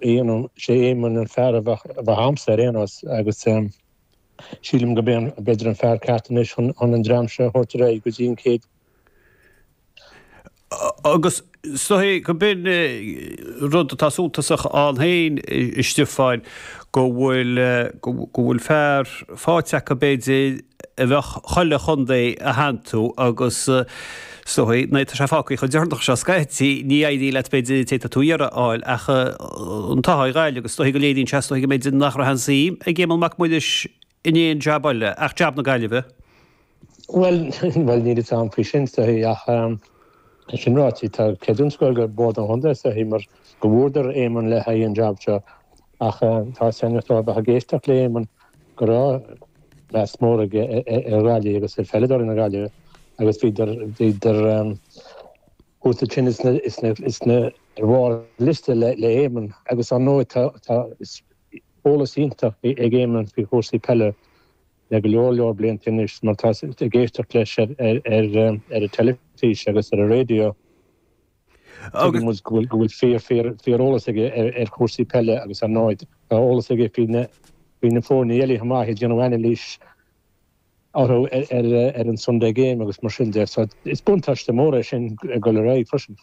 Sé Éamonn an fear a bheadh a'msa ar aon nós agus sílim go b'é b'fhéidir an fear ceart anois chun an dream seo a thabhairt ar aghaidh go dtí an chéad Agus is dóigh go b'in rud atá suntasach ann féin, a Stiofáin, go bhfuil, go bhfuil fear faighte acu b'fhéidir a bheadh chuile chontae a shantú agus is dóigh, nuair atá sé fágtha chomh deireanach seo scaití, ní éiríonn leat b'fhéidir an té atá tú a iarraidh a fháil ach an t-ádh ar Ghaillimh agus is dóigh go léiríonn sé, is dóigh go mb'fhéidir nach raibh aon suim ag Éamonn Mac Muiris in aon jab eile ach jab na Gaillimhe. Bhuel, bhuel, níl fhios a'm faoi sin, is dóigh, ach é sin ráite, tá creidiúint ag goil go Bord an Chontae, is dóigh, mar go bhfuaireadar Éamonn le haghaidh an jab seo. Ach tá fhios a'inn ó bheith ag éisteacht le Éamonn go raibh meas mór aige ar Ghaillimh agus ar pheileadóirí na Gaillimhe agus bhíodar, bhíodar thuas ansin is na, is na, ar bharr an liosta le Éamonn agus ar ndóigh tá, tá eolas iontach ag Éamonn faoi chúrsaí peile. le go leor leor blianta anois mar tá ag éisteacht leis ar an teilifís agus ar an raidió. Tuigeann muid go bhfuil go bhfuil fíor fíor fíor eolas aige ar chúrsaí peile agus ar ndóigh tá eolas aige faoi na faoi na foirne eile chomh maith ag déanamh anailís orthu ar ar an Sunday Game agus mar sin de. So is buntáiste mór é sin ag dul ar aghaidh freisin.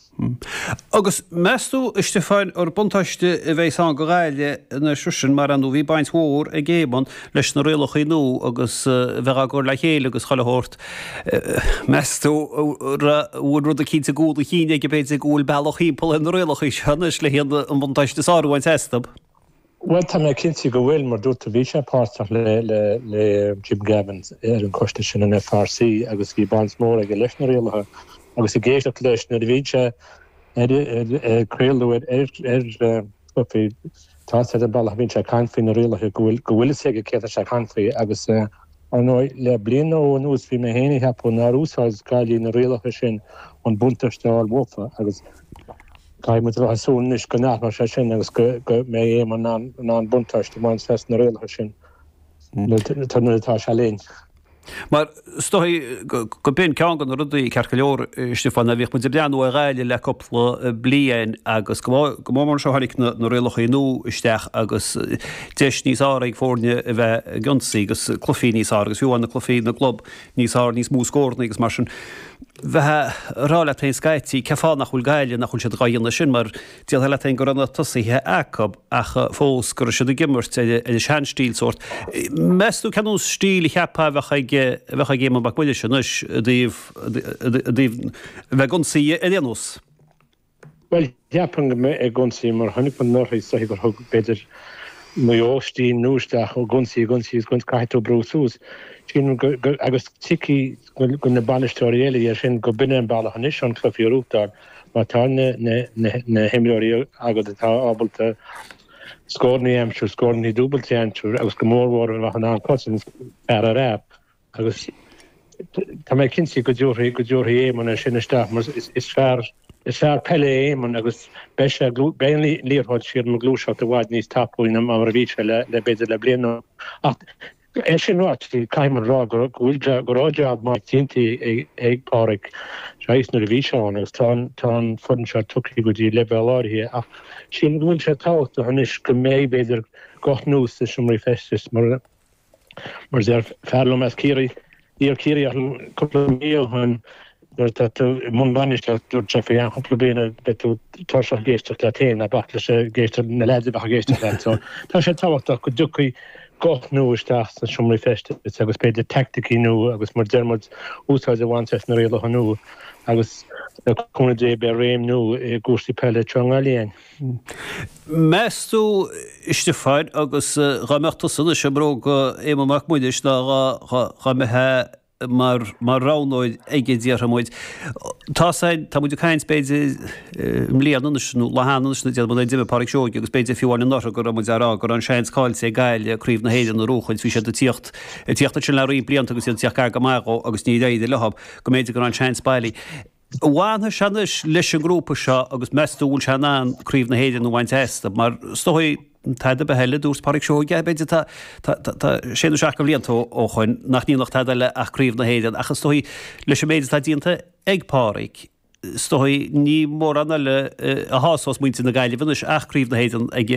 Agus meas tú, a Stiofáin, gur buntáiste a bheas ann do Ghaillimh anois freisin, mar ar ndóigh bhí baint mhór ag Éamonn leis na rialacha nua agus a bheith á gcur le chéile agus chuile shórt. Meas tú bhfuil rud eicínt i gcúl a chinn aige b'fhéidir go bhfuil bealach thimpeall ar na rialacha seo anois le an buntáiste is fearr a bhaint astu? Bhuel, tá mé cinnte go bhfuil, mar dúirt tú, bhí sé páirteach le le Jim Gavin ar an choiste sin, an FRC, agus bhí baint mhór aige leis na rialacha agus ag éisteacht leis nuair a bhíonn sé ar ag craoladh ar ar ar tá sé an bealach a bhíonn sé ag caint faoi na rialacha go bhfuil go bhfuil fhios aige céard atá sé ag caint faoi agus ar ndóigh le bliain nó dhó anuas bhí mé féin ag ceapadh nár úsáid Gaillimh na rialacha sin chun buntáiste a fháil uafa agus Caithfidh muid a bheith ag súil anois go n-athróidh sé sin agus go mbeidh Éamonn in ann buntáiste a bhaint as na rialacha sin nuair atá sé linn. Mar is dóigh go b'in ceann de na rudaí, ceart go leor, a Stiofáin, a bhíodh muid ag breathnú ar Ghaillimh le cúpla bliain agus go mór mór anseo tháinig na rialacha nua isteach agus deis níos fearr ag foirne a bheith ag ionsaí agus cluichí níos fearr agus fiú amháin na cluichí na gclub níos fearr, níos mó scóranna agus mar sin. Bheifeá ag rá leat féin scaití, cén fáth nach bhfuil Gaillimh, nach bhfuil siad dhá dhéanamh sin mar déarfá leat féin go raibh na tosaithe acu ach fós go raibh siad ag imirt ar an seanstíl sórt. Meas tú cén nós stíl a cheapfá a bheadh ag a bheadh ag Éamonn Mac Muiris anois i dtaobh i dtaobh a bheith ag ionsaí ar aon nós? Bhuel, cheapfainn go mbeidh ag ionsaí mar chonaic muid anuraidh is dóichí gur thug, b'fhéidir, Maigh Eo stíl nua isteach, ag ionsaí, ag ionsaí agus caithfidh tú brú suas. Sílim go, go, agus tuigfidh go, go na bainisteoirí eile é sin, go b'in é an bealach anois chun cluichí a ghnóthachtáil má tá na, na, na, na himreoirí agat atá ábalta scóranna a aimsiú, scóranna dúbailte a aimsiú agus go mór mhór a bheith in ann cosaint fear ar fhear. Agus tá mé cinnte go dtabharfaidh, go dtabharfaidh Éamonn é sin isteach mar is fear, is fear peile é Éamonn agus beidh sé, beidh an liathróid sílim ag gluaiseacht i bhfad níos tapúla ná mar a bhí sé le, le b'fhéidir le bliain nó. Ach é sin ráite, caithfidh muid a rá go, go bhfuil, go raibh jab maith déanta ag, ag Pádraig Joyce nuair a bhí sé ann agus tá an, tá an foireann seo tugtha go dtí leibhéal áirithe ach sílim go bhfuil sé tábhachtach anois go mbeidh b'fhéidir guth nua sna seomraí feistis mar Mar a deir fear liom as Ciarraí, iar-Chiarraíoch liom cúpla mí ó shin, nuair atá tú i mbun bainistíochta, dúirt sé faoi cheann cúpla bliain beidh tú tuirseach ag éisteacht leat féin, ná bac leis ag éisteacht na leaids a bheadh ag éisteacht leat. So tá sé tábhachtach go dtiocfaidh guth nua isteach sna seomraí feistis agus b'fhéidir teaicticí nua agus mar deir muid úsáid a bhaint as na rialacha nua agus le cúnamh Dé beidh réim nua i gcúrsaí peile anseo i nGaillimh. Meas tú, a Stiofáin, agus dhá mbeadh tusa anois i mbróga Éamonn Mac Muiris ná dhá mbeifeá mar mar roghnóir aige déarfaidh muid. Tá san, tá muid ag caint b'fhéidir i mbliana anois nó lá cheana anois déarfaidh muid nuair a d'imigh Pádraig Seoige agus b'fhéidir fiú amháin anuraidh go raibh muid á rá go raibh an seans caillte ag Gaillimh Craobh na hÉireann a bhuachaint. Bhí siad ag tíocht ag tíocht ansin le roinnt blianta agus iad ag tíocht gar go maith dhó agus níor éirigh leo go mb'fhéidir go raibh an seans bailí. An bhfanfaidh sé anois leis an ngrúpa seo agus meas tú an bhfuil sé in ann Craobh na hÉireann a bhaint astu? Mar is dóigh, tada ar bith eile, dúirt Pádraig Seoige, b'fhéidir tá, tá, tá sé nó seacht de bhlianta ó shoin nach ndéanfadh tada eile ach Craobh na hÉireann ach is dóigh leis an méid atá déanta ag Pádraig. Is dóigh, ní mórán eile a shásós muintir na Gaillimhe anois ach Craobh na hÉireann ag.